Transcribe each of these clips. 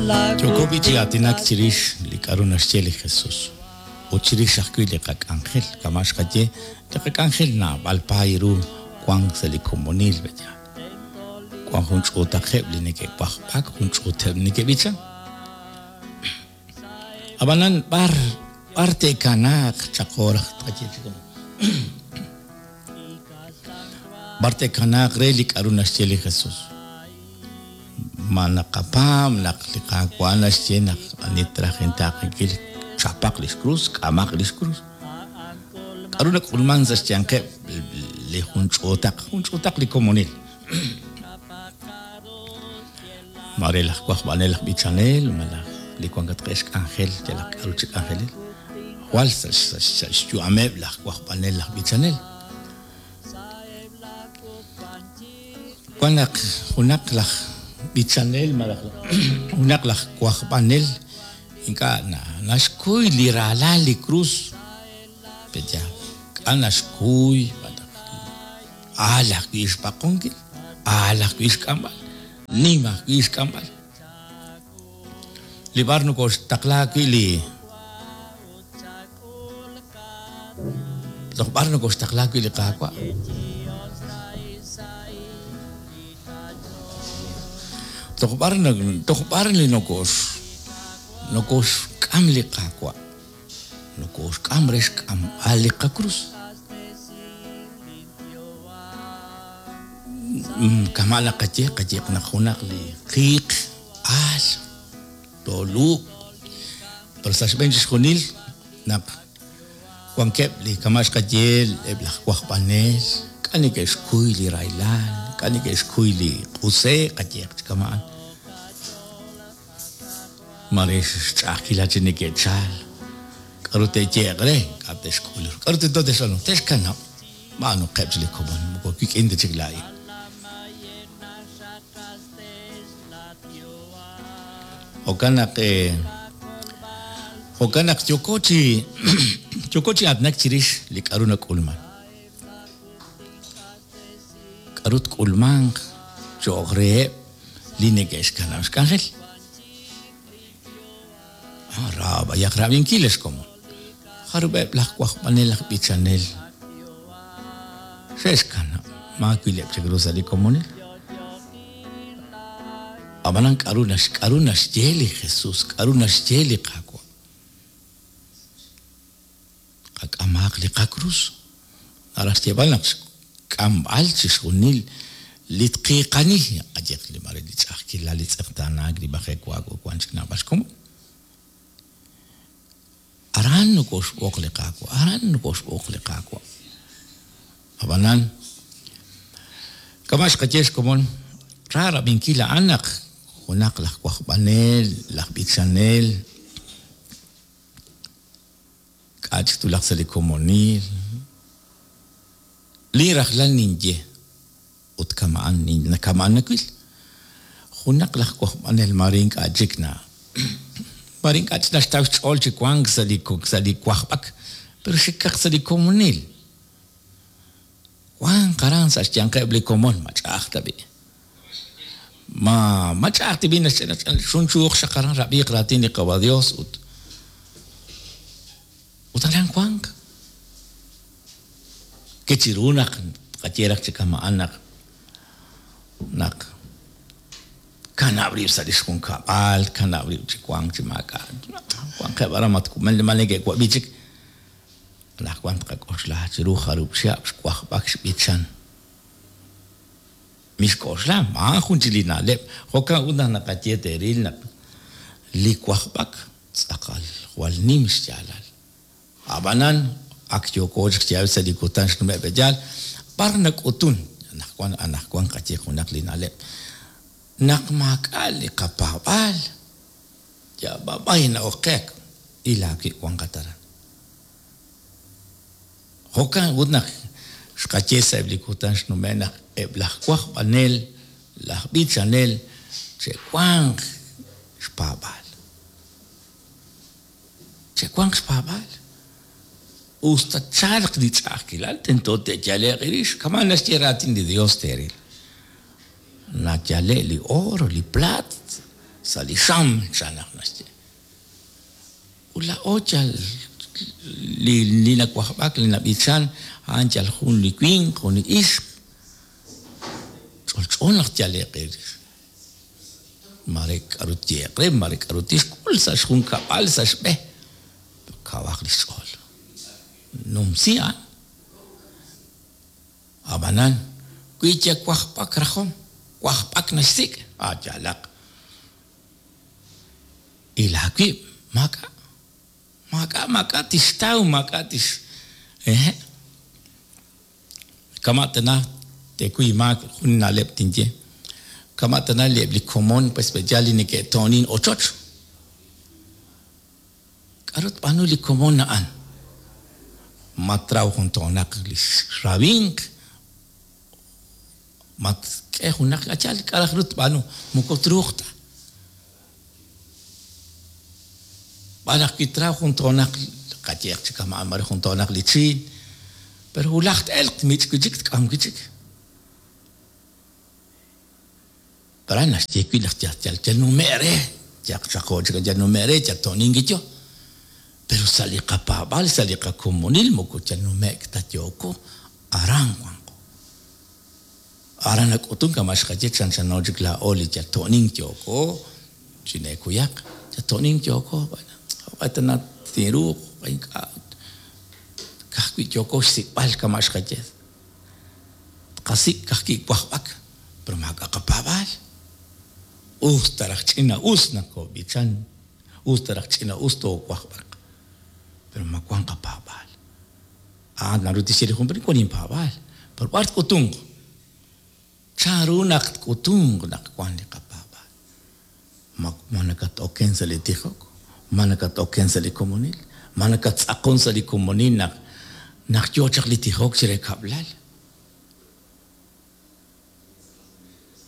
Yooko b'i' chi aatinak chirix li k'a'ru naxye li Jesus ut chirix ajwi' li qak'anjel. Kama' xqaye, li qak'anjel naab'al paay ru wank sa' li komonil, pe'yaal? Wank jun ch'uutaqeb' li neke'wajb'ak, jun ch'uuteb' li neke'b'ichan. Ab'anan b'ar b'ar te'kanaaq chaqo raj tqaye chi kama'an? B'ar te'kanaaq re li k'a'ru naxye li Jesus? Ma naqapaab' naq li Qaawa' naxye naq ani traj intaaqenkil chapaq lix krus, k'amaq lix krus? K'a'ru nak'ulman sa' xyanqeb' li jun ch'uutaq, jun ch'uutaq li komonil? Maare laj wajb'anel laj b'ichanel malaj li wankatqeb' xk'anjel yalaq k'a'ru chi k'anjelil. Jwal sa' xyu'ameb' laj wajb'anel laj b'ichanel. Wan naq junaq laj b'ichanel malaj junaq laj wajb'anel ink'a' naxkuy li raalal li krus. Pe'yaal? K'a' naxkuy? Aal ajwi' xpaqonkil, aal ajwi' xk'amb'al, nim ajwi' xk'amb'al. Li b'ar nokoxtaqla wi' li Toj b'ar nokoxtaqla wi' li Qaawa'? Toj b'ar toj b'ar li nokox nokoxk'am li Qaawa'? Nokoxk'am re xk'amb'al li qakrus. Kama' naqaye, qayeq naq junaq li qiiq aal tooluuq. Pero sa' xb'een chixjunil naq wankeb' li kama' xqaye eb' laj wajb'anel, k'a' neke'xkuy li rahilal, k'a' neke'xkuy li q'use'k, qayeeq chi kama'an. Maare xch'a'ajkilal chi neke'chal. K'aru te'yehe'q re? K'a' te'xk'ul ru? K'aru tento te'xb'aanu? Te'xkanab'. B'aanuqeb' chik li komon, moko wik'in ta chik laa'in. Jo'kan naq jo'kan naq yooko chi yooko chi aatinak chirix li k'a'ru nak'ulman. K'aru tk'ulmanq cho'q reheb' li neke'xkanab' xk'anjel? Ra b'ayaq rab'inkil, ex komon. Jarub'eb' laj wajb'anel aj b'ichanel xe'xkanab' maawileb' chik ru sa' li komonil? Ab'anan k'aru k'aru naxye li Jesús, k'aru naxye li Qaawa'? Qak'amaaq li qakrus. Naraj xyeeb'al naq xk'amb'al chixjunil li tqiiqani, qayehaq li maare li ch'a'ajkilal, li tz'eqtaanaak, li majewaak ut wank chik naab'al xkomon. Aran nokoxb'oq li Qaawa', aran nokoxb'oq li Qaawa'. Ab'anan, kama' xqaye xkomon, ra rab'inkil a'an naq junaq laj wajb'anel, laj b'ichanel, K'a' chik twulaq sa' li komonil? Li rajlal ninye, ut kama'an kama'an nawil. Junaq laj wajb'anel maare ink'a' chik na maare ink'a' chik naxtaw xch'ool chi wank sa' li sa' li wajb'ak, pero xikaq sa' li komonil. Wanq aran sa' xyanqeb' li komon, ma ch'a'aj ta b'i'. Ma ma ch'a'aj ta b'i' xunchuuq xaq aran rab'iiq raatin li Qawa' Dios ut ut aran wanq. Ke chiru naq tqaye raj chi kama'an naq naq kanab' rib' sa' li xjunkab'al, kanab' rib' chi wank chi maak'a' wanqeb' aran ma neke'wab'i chik. Anaqwan tqak'oxla chiru jarub' chihab' xwajb'ak xb'ichan. Mixk'oxla, maajun chik li na'leb'. Jo'kan ut naq naqaye teeril naq li wajb'ak tz'aqal jwal nim xyaalal. Ab'anan, ak yooko chik chi sa' li kutan xnume' pe'yaal, b'ar nak'utun anaqwan anaqwan qaye junaq li na'leb' naq maak'a' li qapaab'aal, yal b'ab'ay na'ok qe il aawib' wanqat aran. Jo'kan ut naq xqaye sa'eb' li kutan xnume' naq eb' laj wajb'anel, laj b'ichanel che'wanq xpaab'aal. Che'wanq xpaab'aal. Us ta tchalq li ch'a'ajkilal, tento te'yale'q eerix. Kama' naxye raatin li Yos teeril. Nayale' li oor, li plaat. Sa' li xam, chan naq naxye. Ut laa'o yal li li nawajb'ak, li nab'ichan, a'an yal jun li winq, jun li ixq. Ch'olch'o naq tyale'q eerix. Mare k'aru tyehe'q re, mare k'aru tixk'ul sa' xjunkab'al, sa' xb'e. Kawaq li xch'ool. Numsi a'an. Ab'anan, wi yal wajb'ak rajom, wajb'ak naxsik', a' yaalaq. Il aawib', maak'a'. Maak'a', maak'a' tixtaw, maak'a' tix. Ehe'. Kama' tana teekuy maak jun na'leb' tinye. Kama' tana li eb' li komon pues pe'yaal li neke'to'onin ochoch. K'aru tb'aanu li komon a'an? Ma traw jun toonaq li xrawinq? Ma tk'e junaq k'achal? K'a' raj ru tb'aanu? Moko truuq ta. B'an naq wi traw jun toonaq, qayehaq chi kama'an mare jun toonaq li chiin, pero wulaj t-elq, tmich' wi' chik, tk'am wi' chik. Pero a'an naxye wi' naq yal yal yal nume' re, yaq chaqo chik yal nume' re, yal to'nink yo. Pero sa' li qapaab'aal, sa' li qakomonil moko yal nume'k ta yooko, aran wanqo. Aran nak'utun kama' xqaye chanchano chik laa'o li yal to'nink yooko, chineekuyaq, yal to'nink yooko, bueno, jo'q'e tana tinruuq, jo'q'e ink'a', ka'ajwi' yooko xsik'b'al kama' xqaye. Tqasik' ka'ajwi' wajb'ak, pero maak'a' qapaab'aal. Us ta raj ch'ina-us naq koob'ichan, us ta raj ch'ina-us toowajb'aq, pero ma wan qapaab'aal. A'an naru tixye li jun, pero wan inpaab'aal. Pero b'ar tk'utunq? Chan ru naq tk'utunq naq wan li qapaab'aal? Ma ma nakat-oken sa' li tijok? Ma nakat-oken sa' li komonil? Ma nakattz'aqon sa' li komonil naq naq yoo chaq li tijok chire kab'lal?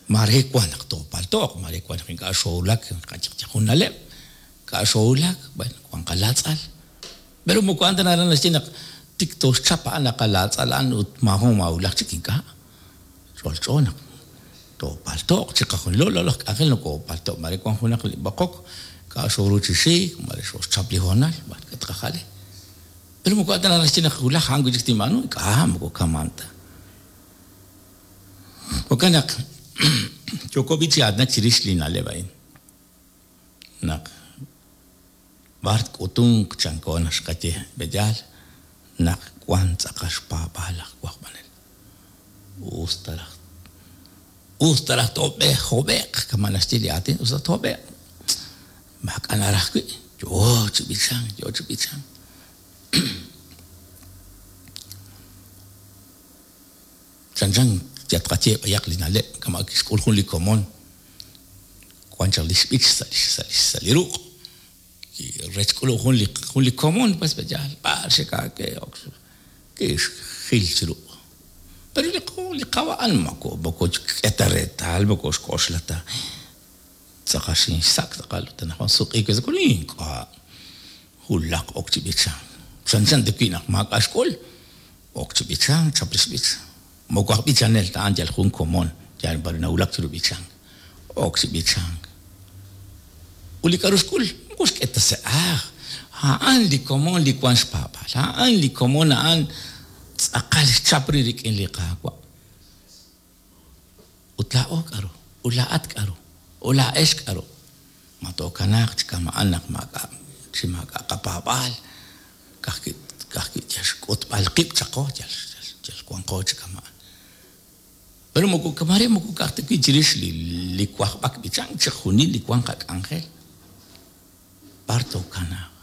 Maare wan naq toopalto'q, maare wan naq ink'a' xoowulak, jun na'leb', ink'a' xoowulak, bueno, wan qalaatz'al. Pero moko a'an ta naraj naxye naq tik tooxchap a'an li qalaatz'al a'an ut maajun maawulaj chik, ink'a'. Ch'olch'o naq toopalto'q chiqajunilo, laa'o laj k'anjel nokoopalto'k, maare wan junaq li b'oqok, ink'a' xooru chi xik, maare xooxchap li hoonal, b'ar tqajale. Pero moko a'an ta naraj naxye naq wulaj a'an wi' chik tinb'aanu, ink'a' moko kama'an ta. Jo'kan naq yooko b'i' chi aatinak chirix li na'leb' a'in, naq b'ar tk'utunq chanko naq xqaye b'eyaal naq wank tz'aqal xpaab'aal laj wajb'anel. Us ta raj us ta raj toob'eeq hob'e'q kama' naxye li aatin, us ta toob'eeq maak'a' naraj wi', yoo chi b'ichank, yoo chi b'ichank. Chanchan yal tqaye b'ayaq li na'leb' kama' kixk'ul jun li komon wan chaq li xb'ich sa' li sa' li sa' li ruq' rech k'ulub' jun li jun li komon pues yaal b'ar xe'k'aake ok kixjil chi ruq'. Pero li li qawa' a'an moko moko xk'e ta reetal moko xk'oxla ta tz'aqal xinxsak' tz'aqal ut anaqwan sutq'iik we sa' ink'a' wulaj ok chi b'ichank. Chanchan ta wi' naq maak'a' xk'ul. Ok chi b'ichank, chap li xb'ich. Moko aj b'ichanel ta, a'an yal jun komon, yal b'ar nawulak chiru b'ichank. Ok chi b'ichank. Ut li k'a'ru xk'ul, moko xk'e ta sa' ajl. A'an li komon li wan xpaab'aal. A'an li komon a'an tz'aqal xchap rib' rik'in li Qaawa'. Ut laa'o k'a'ru? Ut laa'at k'a'ru? Ut laa'ex k'a'ru? Ma tookanaaq chi kama'an naq maak'a' chi maak'a' qapaab'aal, ka'ajwi' ka'ajwi' yal xk'utb'al qib' chaqo, yal yal wanqo chi kama'an? Pero moko maare moko ka'aj ta wi' chirix li li wajb'ak b'ichank, chixjunil li wan qak'anjel. B'ar tookanaaq?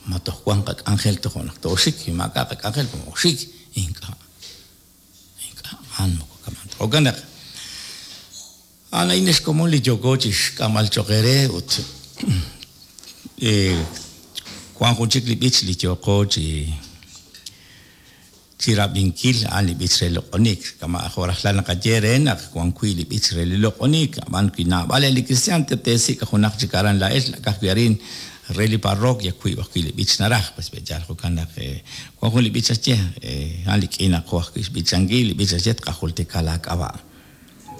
Ma toj wan qak'anjel tojo' naq tooxik? Wi maak'a' qak'anjel, mooxik. Ink'a'. Ink'a', a'an moko kama'an ta. Jo'kan naq, a'an a'in xkomon li yooko chi xk'amb'al cho'q eere ut wank jun chik li b'ich li yooqo chi chi rab'inkil, a'an li b'ich re loq'onik. Kama' jo' rajlal naqaye eere naq wank wi' li b'ich re li loq'onik, ab'an wi naab'al eb' li kristiaan teesik' junaq chik aran laa'ex, ka'ajwi' arin re li parroquia wiib' ajwi' li b'ich naraj, pues pe'yaal jo'kan naq wan jun li b'ich naxye, a'an li k'iinaqo ajwi' xb'ichankil, li b'ich naxye tqajultika laak'ab'a'.